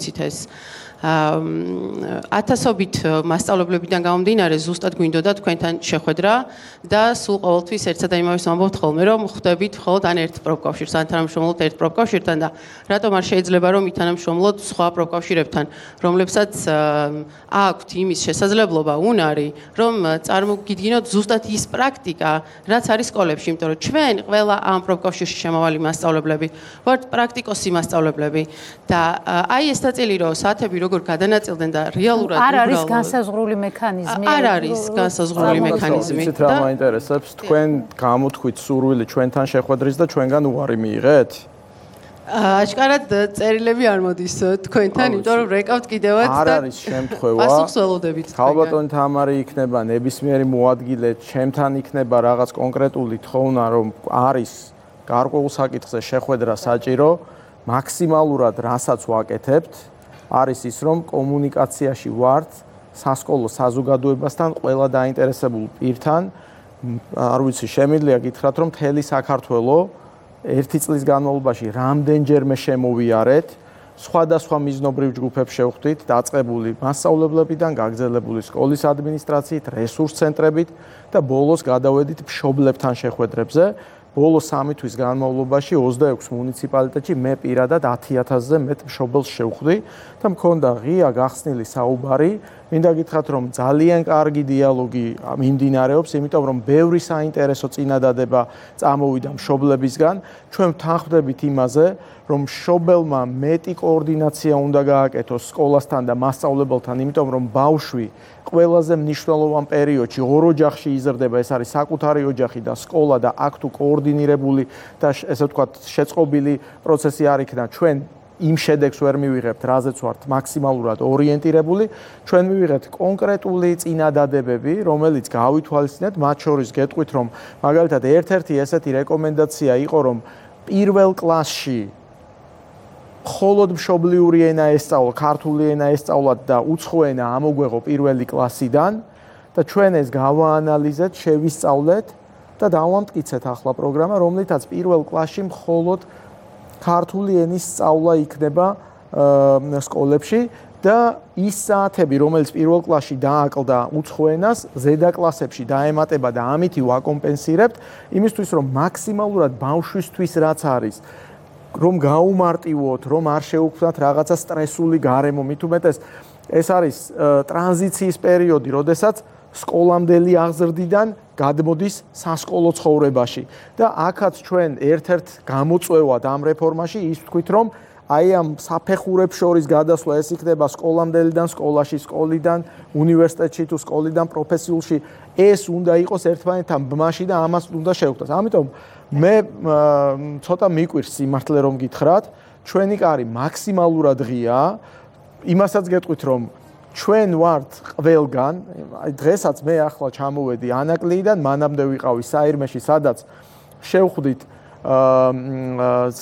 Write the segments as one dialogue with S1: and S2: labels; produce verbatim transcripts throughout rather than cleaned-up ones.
S1: ვიცით ეს ათასობით მასწავლებლებიდან გამომდინარე ზუსტად გვინდოდა თქვენთან შეხვედრა და სულ ყოველთვის ერთსა და იმავეს ვამბობთ ხოლმე რომ ხვდებით მხოლოდ ან ერთ პროფკავშირს ან თანამშრომლობთ ერთ პროფკავშირთან და რატომ არ შეიძლება რომ ითანამშრომლოთ სხვა პროფკავშირებთან რომლებსაც აქვთ იმის შესაძლებლობა უნარი რომ წარმოგიდგინოთ ზუსტად ის პრაქტიკა რაც არის სკოლებში იმიტომ რომ ჩვენ ყველა ამ პროფკავშირში შემავალი მასწავლებლები ვართ პრაქტიკოსი მასწავლებლები და აი ეს ნაწილი რომ საათები როგორ გადანაწილდნენ და რეალურად
S2: არ არის განსაზღვრული მექანიზმი.
S1: არ არის განსაზღვრული მექანიზმი.
S3: იცით რა მაინტერესებს? თქვენ გამოთქვით სურვილი ჩვენთან შეხვედრის და ჩვენგან უარი მიიღეთ?
S1: აშკარად წერილები არ მოდის თქვენთან, იმიტომ რომ რეკავთ კიდევაც და
S3: არ არის შემთხვევა.
S1: პასუხს ველოდებით.
S3: ქალბატონი თამარი იქნება ნებისმიერი მოადგილე, ჩემთან იქნება რაღაც კონკრეტული თხოვნა, რომ არის გარკვეულ საკითხზე შეხვედრა საჭირო, მაქსიმალურად რასაც ვაკეთებთ არის ის რომ კომუნიკაციაში ვართ სასკოლო საზოგადოებასთან ყველა დაინტერესებულ პირთან არ ვიცი შემიძლია გითხრათ რომ მთელი საქართველო ერთი წლის განმავლობაში რამდენჯერმე შემოვიარეთ სხვადასხვა მიზნობრივ ჯგუფებს შევხვდით დაწყებული მასწავლებლებიდან გაგრძელებული სკოლის ადმინისტრაციით რესურს ცენტრებით და ბოლოს გადავედით მშობლებთან შეხვედრებზე ბოლო სამი თვის განმავლობაში ოცდაექვსი მუნიციპალიტეტში მე პირადად ათი ათასზე მეტ მშობელს შევხვდი და მქონდა ღია გახსნილი საუბარი მინდა გითხრათ რომ ძალიან კარგი დიალოგი მიმდინარეობს იმიტომ რომ ბევრი საინტერესო წინადადება წამოვიდა მშობლებისგან ჩვენ ვთანხმდებით იმაზე რომ მშობელმა მეტი კოორდინაცია უნდა გააკეთოს სკოლასთან და მასწავლებელთან იმიტომ რომ ბავშვი ყველაზე მნიშვნელოვან პერიოდში ორ ოჯახში იზრდება ეს არის საკუთარი ოჯახი და სკოლა და აქ თუ კოორდინირებული და ესე ვთქვათ შეწყობილი პროცესი არ იქნა ჩვენ იმ შედეგს ვერ მივიღებთ რაზეც ვართ მაქსიმალურად ორიენტირებული ჩვენ მივიღეთ კონკრეტული წინადადებები რომელიც გავითვალისწინეთ მათ შორის გეტყვით რომ მაგალითად ერთ-ერთი ესეთი რეკომენდაცია იყო რომ პირველ კლასში მხოლოდ მშობლიური ენა ესწავლო, ქართული ენა ესწავლათ და უცხო ენა ამოგვეღო პირველი კლასიდან და ჩვენ ეს გავაანალიზეთ, შევისწავლეთ და დავამტკიცეთ ახლა პროგრამა, რომლითაც პირველ კლასში მხოლოდ ქართული ენის სწავლა იქნება სკოლებში და ის საათები, რომელიც პირველ კლასში დააკლდა უცხო ენას, ზედა კლასებში დაემატება და ამითი ვაკომპენსირებთ, იმისთვის რომ მაქსიმალურად ბავშვისთვის რაც არის რომ გაუმარტივოთ, რომ არ შეუქმნათ რაღაცა სტრესული გარემო, მით უმეტეს ეს არის ტრანზიციის პერიოდი, როდესაც სკოლამდელი აღზრდიდან გადმოდის სასკოლო ცხოვრებაში და აქაც ჩვენ ერთ-ერთ გამოწვევად ამ რეფორმაში ის ვთქვით, რომ აი ამ საფეხურებს შორის გადასვლა ეს იქნება სკოლამდელიდან სკოლაში, სკოლიდან უნივერსიტეტში თუ სკოლიდან პროფესიულში, ეს უნდა იყოს ერთმანეთთან ბმაში და ამას უნდა შევხვდას. ამიტომ მე ცოტა მიკვირს სიმართლე რომ გითხრათ, ჩვენი კარი მაქსიმალურად ღია, იმასაც გეტყვით რომ ჩვენ ვართ ყველგან, აი დღესაც მე ახლა ჩამოვედი ანაკლიიდან, მანამდე ვიყავი საირმეში, სადაც შევხვდით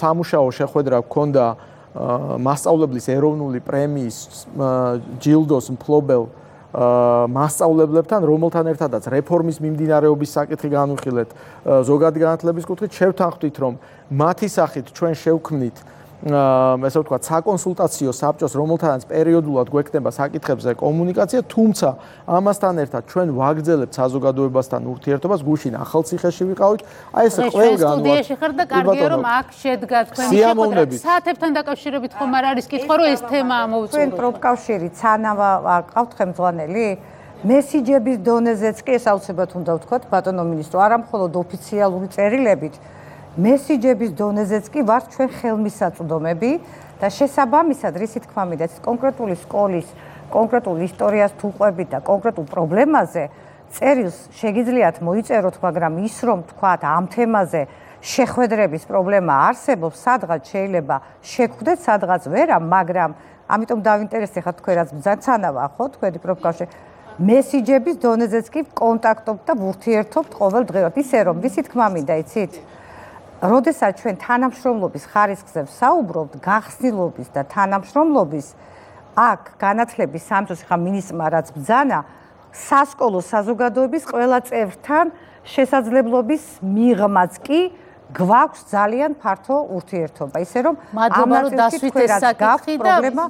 S3: სამუშაო შეხვედრა გქონდა მასწავლებლის ეროვნული პრემიის ჯილდოს მფლობელ მასწავლებლებთან, რომელთან ერთადაც რეფორმის მიმდინარეობის საკითხი განვიხილეთ ზოგადი განათლების კუთხით, შევთანხმდით, რომ მათი სახით ჩვენ შევქმნით ესე ვთქვათ, საკონსულტაციო საბჭოს, რომელთანაც პერიოდულად გვექნება საკითხებზე კომუნიკაცია, თუმცა ამასთან ერთად ჩვენ ვაგრძელებთ საზოგადოებასთან ურთიერთობას, გუშინ ახალციხეში ვიყავით, აი ეს ყველგან
S2: სტუდიაში ხარ და კარგია რომ აქ შედგა თქვენი შეხვედრა. საათებთან დაკავშირებით ხომ არ არის კითხვა, რომ ეს თემა ამოვწურო.
S4: თქვენ პროფკავშირი ცანავა ყავთ ხელმძღვანელი? მესიჯების დონეზეც კი ეს აუცილებლად უნდა ვთქვათ, ბატონო მინისტრო, არა მხოლოდ ოფიციალური წერილებით, მესიჯების დონეზეც კი ვართ ჩვენ ხელმისაწვდომები და შესაბამისად რისი თქმა მინდა კონკრეტული სკოლის კონკრეტულ ისტორიას თუ ყვებით და კონკრეტულ პრობლემაზე წერილს შეგიძლიათ მოიწეროთ, მაგრამ ის რომ თქვათ ამ თემაზე შეხვედრების პრობლემა არსებობს, სადღაც შეიძლება შეგხვდეთ, სადღაც ვერა, მაგრამ ამიტომ დავინტერესდეთ თქვენ რაც ბრძანცანავა ხო თქვენი პროფკავშირი მესიჯების დონეზეც კი კონტაქტობთ და ვურთიერთობთ ყოველდღიურად ისე რომ რისი თქმა მინდა იცით როდესაც ჩვენ თანამშრომლობის ხარისხზე ვსაუბრობთ, გახსნილობის და თანამშრომლობის, აქ განათლების სამინისტროს ხა მინისტრმა რაც ბრძანა, სასკოლო საზოგადოების ყველა წევრთან შესაძლებლობის მიღმაც კი გვაქვს ძალიან ფართო ურთიერთობა, ისე რომ
S2: ამ ნაწილში თქვენ რაც გაქვთ პრობლემა